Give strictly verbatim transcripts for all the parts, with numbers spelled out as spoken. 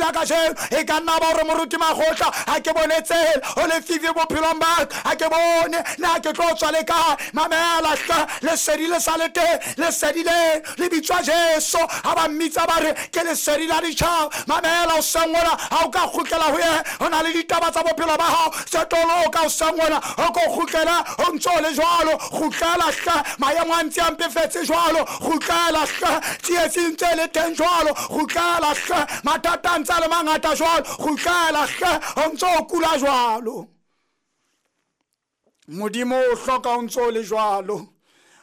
la kajeno e ka nna ba hore moruti Makgotla ha ke bone tsela o lefifi bophelong ba ka ha ke bone na ke tlo tswa le kae. Mamela hle, lesedi le sa le teng, lesedi le le bitswa Jesu. Ha ba mmitsa ba re ke lesedi la ditjhaba. Mamela o sengona ha o ka kgutlela ho yena, ho na le ditaba tsa bophelo ba hao tse toloka o sengona o ko kgutlela o ntso le jwalo. Kgutlela hle, maemo a ntse a mpefetse jwalo. Kgutlela hle, tsietsi ntse le teng jwalo. Kgutlela hle, mathata a ntse a le mangata jwalo. Kgutlela hle, o ntso o kula jwalo. Modimo o hloka o ntso le jwalo.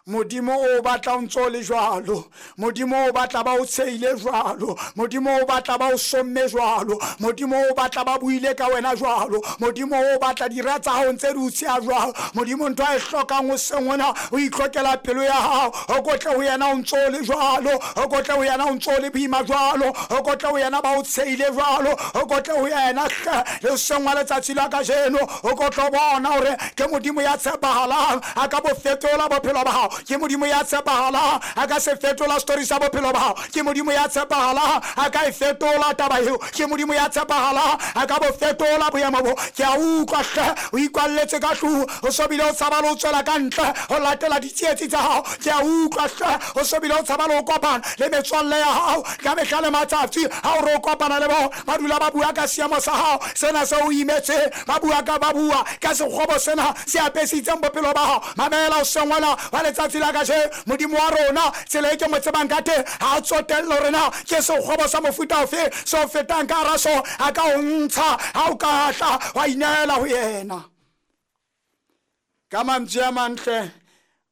Modimo o batla o ntso le jwalo. Modimo o batla ba o tsheile jwalo. Modimo o batla ba o somme jwalo. Modimo o batla ba buile ka wena jwalo. Modimo o batla dira tsa hao ntse di o tsheha jwalo. Modimo ntho a e hlokang o sengona o itlhokela pelo ya hao. O kotle ho yena o ntso le jwalo. O kotle ho yena o ntso le boima jwalo. O kotle ho yena ba o tsheile jwalo. O kotle ho yena hle le sengwa letsatsi la kajeno. O kotlo bona hore ke Modimo ya tshepahalang a ka bo fetola bophelo ba hao. Ke Modimo ya tshepahalang a ka se fetola story sa bophelo ba hao. Ke Modimo ya tshepahalang a ka e fetola taba eo. Ke Modimo ya tshepahalang a ka bo fetola boemo bo. Ke a utlwa hle, o ikwalletse ka tlung, o so bile o tshaba le ho tswela ka ntle ho latela ditsietsi tsa hao. Ke a utlwa hle, o so bile o tshaba le ho kopana le metswalle ya hao ka mehla le matsatsi. Ha o re o kopana le bona, ba dula ba bua ka seemo sa hao sena se o imetseng, ba bua ka ba bua ka sekgobo sena se apesitseng bophelo ba hao. Mamela o sengwana wa letsatsi la kajeno, Modimo wa rona tsela e ke mo tsebang ka teng ha a tsotelle hore na ke sekgobo sa mofuta ofe se o fetang ka hara sona, a ka o ntsha ha o ka tla wa inehela ho yena. Ka mantswe a mantle,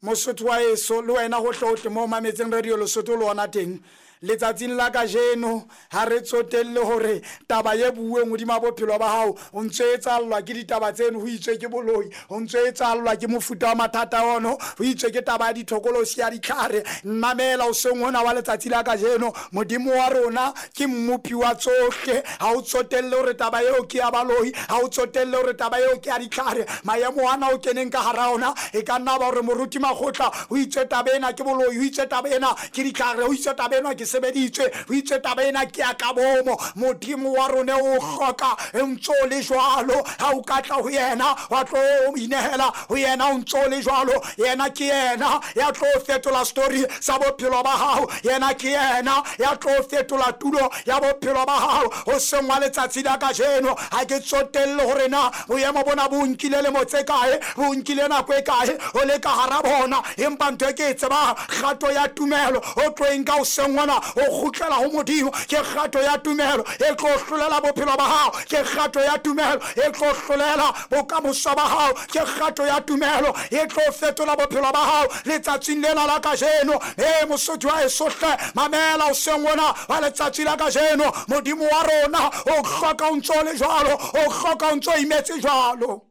Mosotho wa heso le wena hohle hohle mo mametseng Radio Lesotho le ona teng letsatsing la kajeno, ha re tsotelle hore taba e bueng hodima bophelo ba hao o ntso etsallwa ke ditaba tseno, ho itswe ke boloi, ho ntso etsallwa ke mofuta wa mathata ono, ho itswe ke taba ya dithokolosi ya ditlhare. Mamela o seng hona wa letsatsi la kajeno, Modimo wa rona ke mmopi wa tsohle. Ha o tsotelle hore taba eo ke ya baloi, ha o tsotelle hore taba eo ke ya ditlhare. Maemo ana o keneng ka hara ona e ka nna ba hore moruti Makgotla ho itswe taba ena ke boloi, ho itswe taba ena ke ditlhare, ho itswe taba ena ke sebeditswe, ho itswe taba ena ke ya ka bomo. Modimo wa rona o hloka ntso le jwalo. Ha o ka tla ho yena wa tlo inehela ho yena o ntso le jwalo. Yena ke yena ya tlo fetola story sa bophelo ba hao. Yena ke yena ya tlo fetola tulo ya bophelo ba hao. Ho sengwa letsatsi la kajeno, ha ke tsotelle hore na boemo bona bo nkile lemo tse kae, bo nkile nako e kae o le ka hara bona, empa ntho e ke e tsebang, kgato ya tumelo o tlo e nka o sengwana o kgutlela ho Modimo. Ke kgato ya tumelo e tlo hlolela bophelo ba hao. Ke kgato ya tumelo e tlo hlolela bokamoso ba hao. Ke kgato ya tumelo e tlo fetola bophelo ba hao letsatsing lena la kajeno. E Mosotho wa heso hle, mamela o sengwana wa letsatsi la kajeno. Modimo wa rona o hloka o ntso le jwalo, o hloka o ntso imetse jwalo.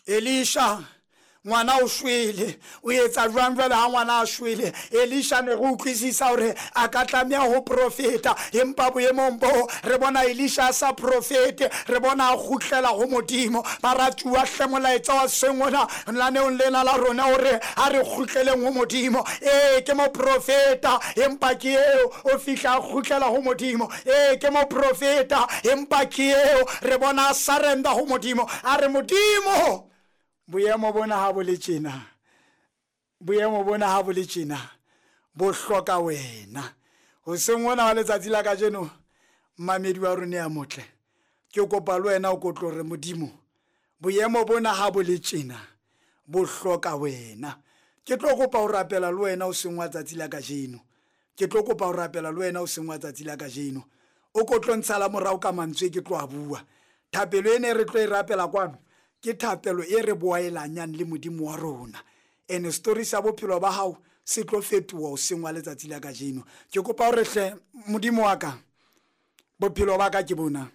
Elisha ngwana o shwele, o etsa jwang jwale ha ngwana a shwele? Elisha ne re utlwisisa hore a ka tlameha ho profeta, empa boemong bo re bona Elisha a sa profete, re bona a kgutlela ho Modimo. Baratuwa hle, molaetsa wa sengona lenaneong lena la rona hore a re kgutleleng ho Modimo. Ee, ke moprofeta, empa ke eo o fihla a kgutlela ho Modimo. Ee, ke moprofeta, empa ke eo re bona a surrender ho Modimo. A re Modimo, boemo bona ha bo le tjena, boemo bona ha bo le tjena, bo hloka wena. Hoseng hona wa letsatsi la kajeno, mmamedi wa rona ya motle, ke kopa le wena o kotlo re Modimo, boemo bona ha bo le tjena, bo hloka wena. Ke tlo kopa ho rapela le wena hoseng wa tsatsi la kajeno. Ke tlo kopa ho rapela le wena hoseng wa tsatsi la kajeno. O ko tlo ntshala morao ka mantswe ke tlo a bua. Thapelo ena e re tlo e rapela kwano ke thapelo e re boaelanyang le Modimo wa rona. Ene story sa bophelo ba hao se tlo fetoha hoseng wa letsatsi la kajeno. Ke kopa hore hle Modimo wa ka, bophelo ba ka ke bona,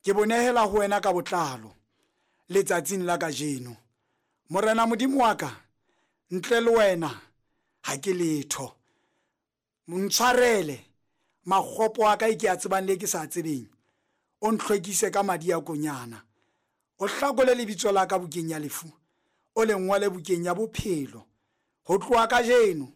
ke bonehela ho wena ka botlalo letsatsing la kajeno. Morena Modimo wa ka, ntle le wena ha ke letho. Ntshwarele makgopo a ka e ke a tsebang le ke sa tsebeng, o ntlhwekise ka madi a konyana. O hlakole lebitso la ka bukeng ya lefu, o le ngwale bukeng ya bophelo. Ho tloha kajeno